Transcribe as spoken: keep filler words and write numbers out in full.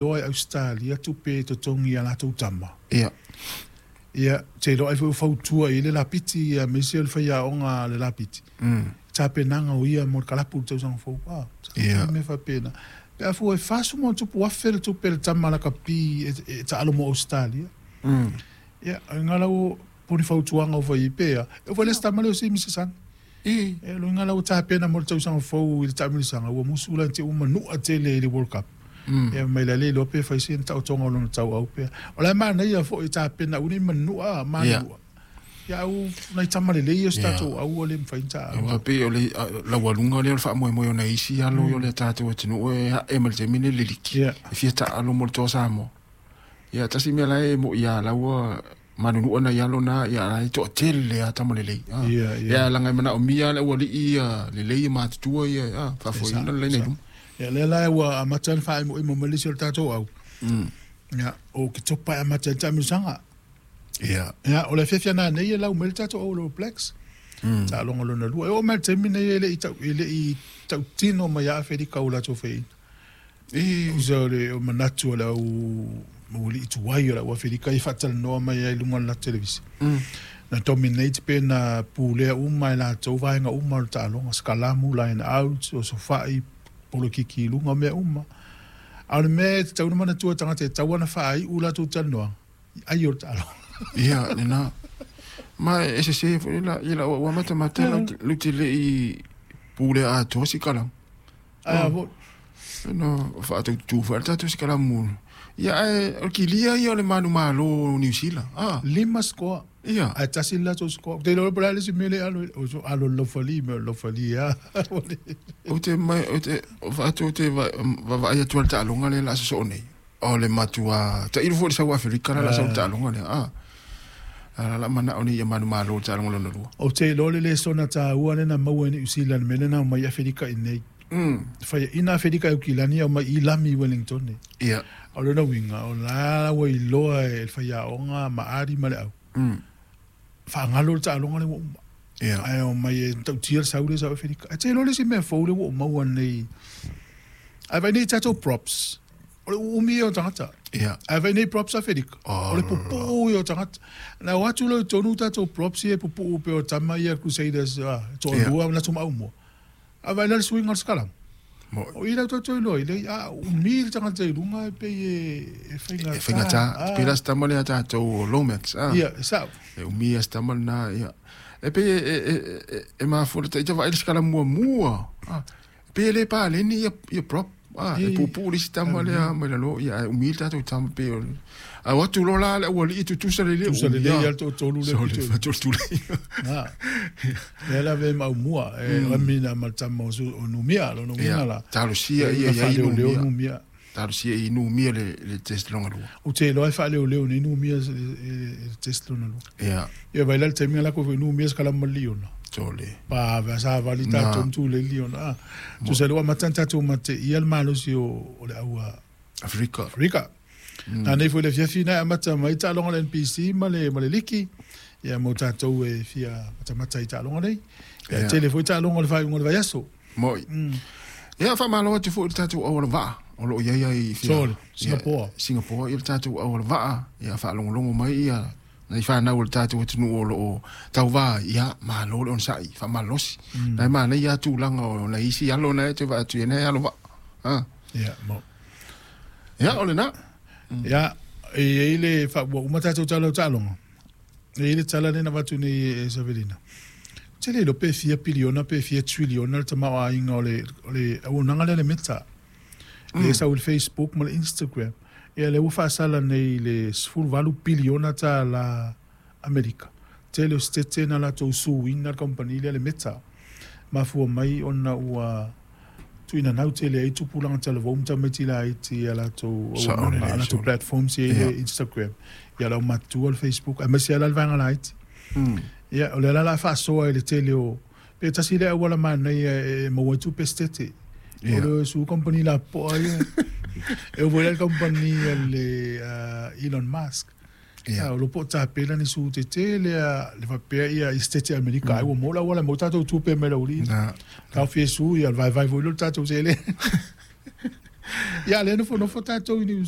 Iloa e Ausetalia tupe e totogi i a latou tama. Ia. Ia, ou te iloa ai foi ua fautua i ai le lapiti aemaise o le faiaoga a le lapiti, Mm. tapenaga o ia mo le kalapu i le tausaga fou. Ah, Ia. mea faapena. Pe a fua e fasefulu ma ona tupu afe le tupe a le tama lakapi e, e taalo mo Ausetalia. Mm. Ia, o lau po ni fautuaga o fai pea. E fai le se tama lea o se Misisana. E. E lo lau tapena mo le tausaga fou i le taamilosaga ua musu la te uma nua tele i le World Cup. Mm. Ia mai la le iloa pe fai se taotoga o lona tauau pea. O la e manaia foi tapena uni manua manua. Ia au nai tama lelei o se tatou au le mafai ona taalo. Aua pei o le laualuga lea o le faamoemoe o nai isi alo o le tatou atunuu e ae ma le taimi lenei le liki. Ia. E fia taalo mo le Toa Samoa. Ia tasi mea la e mo'i ia laua manunua nai alo na ia la e toatele a tama lelei. Ah. Ia, ia. Ia laga e manaomia le aualii ia lelei e matutua ia ah, faafoeina le laina i luma. Ia lea la ua amata ona faaimoimo mai le isi o le tatou au. Mm. Ia o Ketopa e amata ai le taamilosaga. Ia. Ia o le afiafi ana nei e lau mai le tatou au o le All Blacks. Mm. Taaloga lona lua. E oo mai le taimi nei e le i tau e le i tautino mai ia Aferika o latou faiaina. E. Usa o le o manatu o le au maualii tuai o le au Aferika i faatalanoa mai ai i luga o le latou televisa. Mm. Na dominate pe na pulea uma e latou vaega uma o le taaloga, skalamu, line out, o sofai, polokiki i luga, mea uma. A o le mea e tatau ona manatua tagata e tatau ona faaiu latou talanoaga, ai o le taaloga. Ia, lena. Ma e sese foi la ia la ua matamata lau lau te le i pulea atoa sikalamu. Ai a foi. No, faataututu foi le tatou sikalamu. Ia ae o le kilia ia o le manumalo o Niu Sila. Ah, Lima scoa. ia. Ae tasi le latou scoa. Ou te iloa po o le a le isi mea lea e alo o so alo i le laufali me o le laufali lava. Ou te mai ou te faatu te vaavaai atu ai i le taaloga lea o le a sosoo nei. O le matua tailo foi i le sau Aferika la o le a sau i le taaloga lea. Ah. A la manao nei ia manumalo i le taaloga lona lua. Ou te iloa le lesona taua lea na maua e Niu Sila i le mea lea na omai Aferika i nei. Mm. Faiaina Aferika e Aukilani au mai i lami i Wellington. Ia. O lona uiga, o la ua iloa e le faiaoga ma Ali ma le au. Mm. Faagalo le taaloga lea ua uma. Ia. Ae o mai e tautia le sau lea sau Aferika. Ae te iloa le isi mea fou lea ua ou maua nei. Ae vaai nei i tatou props. O le uumi ia o tagata. Ia. Ae vaai nei props Aferika. Oh. O le pupuu ia o tagata. Na o atu loa i totonu tatou props ia e pupuu pei o tama ia Crusaders, ah, toalua Ia. na tumaumua. Ae vaai la le suiga o le sikalamu. Mo O i lau tatou iloa i le a umi le tagata i luga e pei e, e faigata. E faigata. Ah. Pei la se tama lea tatou o Lomax. Ah. Ia, e sao. E umi a se tama lena ia. E pei e e e e mafua le taita vaai le sikalamu muamua. Ah. Pei e le paleni ia ia prop. Ah, e E. puupuu le isi tama lea mai lalo ia ae umi le tatou tama pei o le a o atu loa la le aualii tutusa lelei Tutusa umi lelei a. ia le toatolu le Sole, pito. faatolotulei. Ah. Lea la ve maumua e ramina ma le tama o su- o Numia, lona uiga Ia, la. talosia ia Na ia i faaleoleo Numia. Numia. Talosia i Numia le le test lona lua. Ou te iloa e faaleoleo nei Numia i le i le test lona lua. Ia, Ia vai la le taimi la ko foi Numia sikalamu ma le liona. sole. Pa va sa vali Na. tatou ma tulei le liona. Ah. Tusa le ua amata ona tatou mateia le malosi o o le au a Afrika. Afrika. Na nei foi le afiafi na e amata mai taaloga le N P C ma le ma le liki. Ia mo tatou e fia matamata i taaloga nei. Ia Ia. tele foi taaloga o le faaiuga o le vaiaso. Moi. Mm. Ia faamalo atu foi i le tatou auala vaa o loo iai ai fia. Sole, Ia, Singapore. Singapore ia le tatou auala vaa ia faalogologo mai ia nai fanau o le tatou atunuu o loo tauvā ia malo le onosa'i faamalolosi. Mm. Na e manaia tulaga o nai isi alo na e toe vaai atu ia nei alo vaa. Ah. Ia mo. Ia o lena. Ia e iai le fa ua uma tatou tala o taaloga. E iai le tala lea na avatu nei e Savelina. Tele iloa pe fia piliona pe fia triliona le tamaoaiga o le o le auaunaga lea le Meta. Le sau i le Facebook ma le Instagram. Ia lea ua faasala nei i le sefuluvalu piliona tālā Amerika. Tele o setete na latou suina le company lea le Meta. Mafua mai ona ua tuuina nau tele ai tupulaga talavou ma tamaiti laiti ia latou Sao auaunaga, lelei, a latou sao. platforms ia i le Ia. Instagram. Ia lau matua le Facebook, aemaise lava la le vaega laiti. Mm. Ia, o lea la la faasoa i le tele o pe tasi le auala manaia e maua ai tupe setete. O Ia. le su company lapoa ia. E oo foi la le company a le uh, Elon Musk. Ia. Ah, o lo po tapena ni su tetele a le faapea ia i setete Amerika. Ai ua maua le auala maua tatou tupe mai lauli. Na. Tau fia su ia le vaivai foi lea o le tatou sele. Ia lea nofonofo tatou i Niu